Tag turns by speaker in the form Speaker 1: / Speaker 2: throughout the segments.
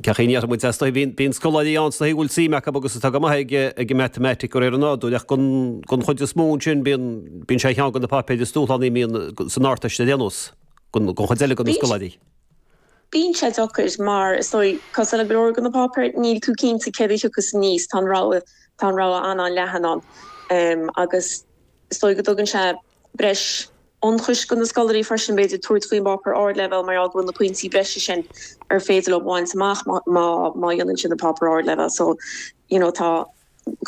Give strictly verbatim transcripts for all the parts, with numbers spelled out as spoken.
Speaker 1: Cén chaoi a ndéarfaidh muid, is dóigh, bíonn bíonn scoláirí ann is dóigh a bhfuil suim acu agus atá go maith ag ag an matamaitic de réir an nádúir ach gon gon chuid is mó ansin bíonn bíonn sé cheann de na páipéir is dúshlánaí a mbíonn san Ardteist ar aon nós gon gon chuid eile de na scoláirí.
Speaker 2: Bíonn sé deacair mar is dóigh cosúil le go leor de na páipéir níl tú cinnte céard a thiocfas aníos, tá an rogha tá an rogha an-an-leathan ann agus is dóigh go dtugann sé breis ionchais do na scoláirí freisin b'fhéidir tabhairt faoin bpáipéar ardleibhéal mar gheall go bhfuil na pointí breise sin ar féidir leo baint amach má má dhéanann siad an páipéar ardleibhéal so you know tá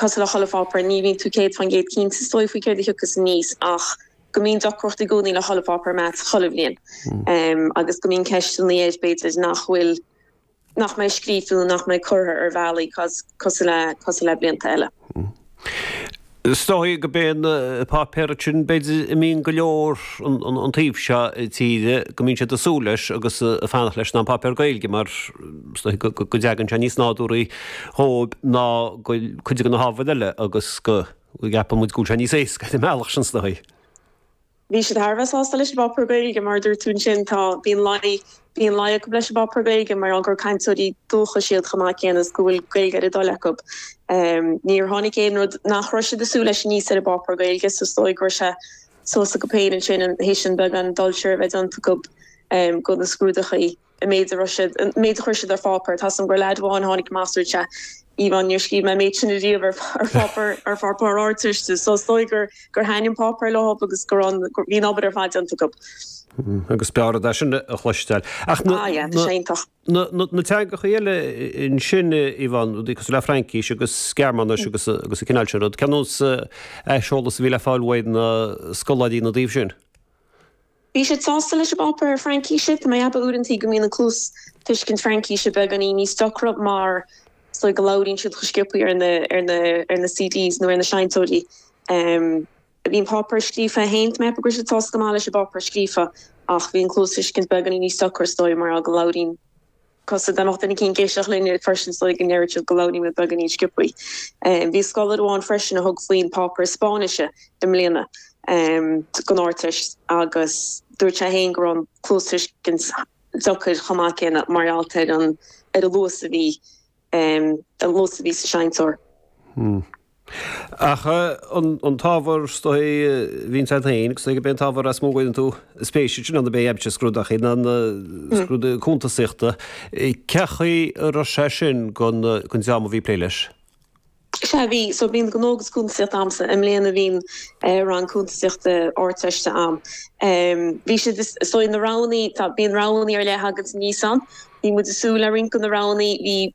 Speaker 2: cosúil le chuile pháipéar ní bhíonn tú céad faoin gcéad cinnte is dóigh faoi céard a thiocfas aníos ach go mbíonn deacracht i gcónaí le chuile pháipéar maths chuile bhliain um, agus go mbíonn ceisteanna air b'fhéidir nach bhfuil nach mbeidh scríofa nó nach mbeidh curtha ar bhealaí cosúil le cosúil le blianta eile.
Speaker 1: Is dóigh gurb é an páipéar sin b'fhéidir a mbíonn go leor an taobh seo tíre go mbíonn siad ag súil leis agus ag fanacht leis ná an páipéar Gaeilge mar is dóigh go dtagann sé níos nádúraí dhóibh ná cuid de na hábhair eile agus go gceapann muid go bhfuil sé níos éasca ar an mbealach sin is dóigh.
Speaker 2: Bhí siad thar a bheith sásta leis an bpáipéar Gaeilge mar dúirt tú ansin tá bíonn luí bíonn luí acu leis an bpáipéar Gaeilge mar gur cainteoirí dúchais iad chomh maith céanna is go bhfuil Gaeilge ar a dtoil acu. Um, níor tháinig aon rud nach raibh siad ag súil leis aníos ar an bpáipéar Gaeilge so is dóigh go raibh sé suas acu féin ansin an théis an beagán dul siar a bheith déanta acu um, go na scrúduithe an méid a raibh siad an méid a chuir siad ar pháipéar tá an gur leaid amháin tháinig amach dúirt sé Yvonne níor scríobh mé méid sin riamh ar ar pháipéar ar pháipéar Ardteiste so is dóigh gur gur thaitin an páipéar leo agus gur an gur bhí an obair ar fad déanta acu.
Speaker 1: Agus b'fhearr é sin a chloisteáil. Ach na
Speaker 2: Ah yeah, tá sé iontach.
Speaker 1: na na na teangacha eile ansin Yvonne, rudaí cosúil le Fraincis agus Gearmáinis agus agus an cineál sin rud. Cén nós aiseolas a bhí le fáil uaidh na scoláirí ina dtaobh sin?
Speaker 2: Bhí siad sásta leis an bpáipéar Fraincise, Tá mé ag ceapadh uaireanta go mbíonn an cluastuiscint Fraincise beagáinín níos deacra mar so go labhraíonn siad go sciobtha ar na ar na ar na CDs nó ar na seinnteoirí. Um, bhí an páipéar scríofa féin mé go siad sásta go maith leis an bpáipéar scríofa ach bhí an cluastuiscint beagáinín níos deacra is dóigh mar go labhraíonn cos den duine cinn géiseach linn freisin so go ndeireann go labhraíonn muid beagáinín sciobtha. Um, bhí scoláire amháin freisin a thug faoin páipéar Spáinnise i mbliana um, don Ardteist agus dúirt sé féin go raibh an cluastuiscint deacair chomh maith céanna mar gheall ar an ar an luas a bhí um, an luas a bhí sa seinnteoir.
Speaker 1: Hmm. Ach an an t-ábhar is dóigh bhíonn sé féin agus go b'é an t-ábhar is mó a gcuireann tú spéis sin an bé aibse scrúduithe ná na scrúduithe cuntasaíochta. Cén chaoi a raibh sé sin gon gon dream a bhí plé leis?
Speaker 2: Sea bhí so bíonn gnó agus cuntasaíocht a'msa i mbliana bhíonn uh, rang cuntasaíochta Ardteiste a'm. Um, bhí siad so na roghanna tá bíonn roghanna ar leith agat níos an, bhí muid ag súil le roinnt de na roghanna bhí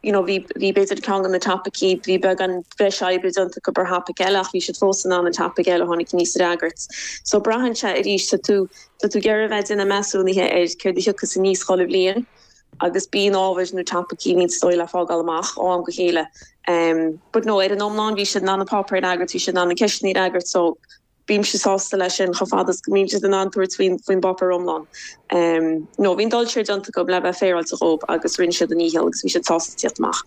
Speaker 2: you know, bhí bhí b'fhéidir ceann de na topaicí bhí beagán breis oibre déanta acu ar thopaic eile ach bhí siad fós in ann an topic eile tháinig aníos a fhreagairt. So braitheann sé arís tá tú tá tú ag iarraidh bheith ag déanamh measúnaithe ar céard a thiocfas aníos chuile bhliain agus bíonn ábhair nó topaicí níos dóigh le fágáil amach ó am go chéile. Um, but no ar an iomlán bhí siad in ann an páipéar a fhreagairt bhí siad in ann na ceisteanna a fhreagairt so bímse sásta leis sin chomh fada is go mbíonn siad in ann tabhairt faoin faoin bpáipéar iomlán. Um, no bhí'n dul siar déanta acu le bheith féaráilte dhóibh agus rinne siad a ndícheall agus bhí siad sásta tíocht amach.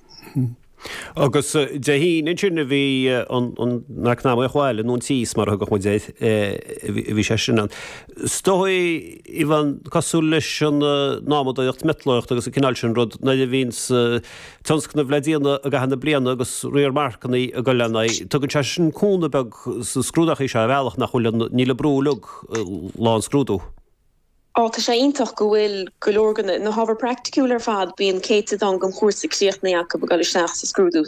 Speaker 1: Agus Dé hAoine sin a bhí an eacnamaíocht bhaile nó an tíos mar a thugadh muid air a bhí sé sin ann. Is dóigh Yvonne cosúil leis an námadóireacht miotalóireacht agus an cineál sin rud nuair a bhíonn tionscnamh le déanamh i gcaitheamh na bliana agus riar marcanna ag dul lena aghaidh. Tugann sé sin cúnamh beag sa scrúduithe seo ar bhealach nach bhfuil níl an brú uilig lá an scrúdú.
Speaker 2: Ó tá sé iontach go bhfuil go leor de na hábhair praiticiúil ar fad bíonn céatadán den chúrsa críochnaithe acu ag dul isteach sa scrúdú.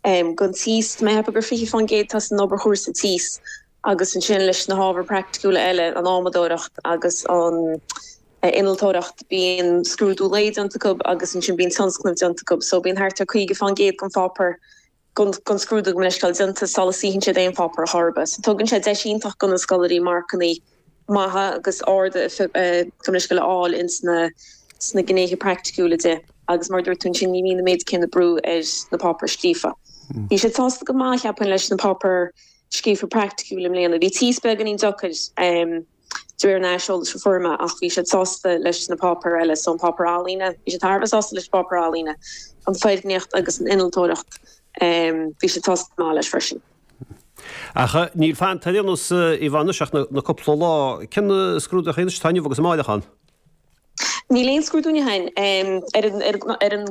Speaker 2: Um, gon tíos mé gur fiche faoin gcéad tá san obair chúrsa tíos agus ansin leis na hábhair praiticiúla eile an adhmadóireacht agus an uh, innealtóireacht bíonn scrúdú lae déanta acu agus ansin bíonn tionscnamh déanta acu, so bíonn thart ar caoga faoin gcéad den pháipéar gon gon scrúdú go leiscail déanta sula suíonn siad aon pháipéar ar chor ar bith. So tugann sé deis iontach do na scoláirí marcanna maithe agus arda go leiscail a fháil ins na sna gnéithe praiticiúla de agus mar dúirt tú sin ní bhíonn an méid céanna brú ar na páipéir scríofa. Bhí sé sásta go maith cheapfainn leis na páipéir scríofa praiticiúil i mbliana. Bhí tíos beagáinín deacair um, de réir an aiseolais a fuair mé ach bhí siad sásta leis na páipéir eile so an páipéar ealaíne, bhí siad thar a bheith sásta leis páipéar ealaíne, an foirgníocht agus an innealtóireacht um, bhí siad sásta maith leis freisin.
Speaker 1: Ach níl fanta ar aon nós Yvonne ach na cúpla lá cén scrúduithe atá inniu agus amárach ann.
Speaker 2: Níl aon scrúdú inniu um, ar an, ar, ar an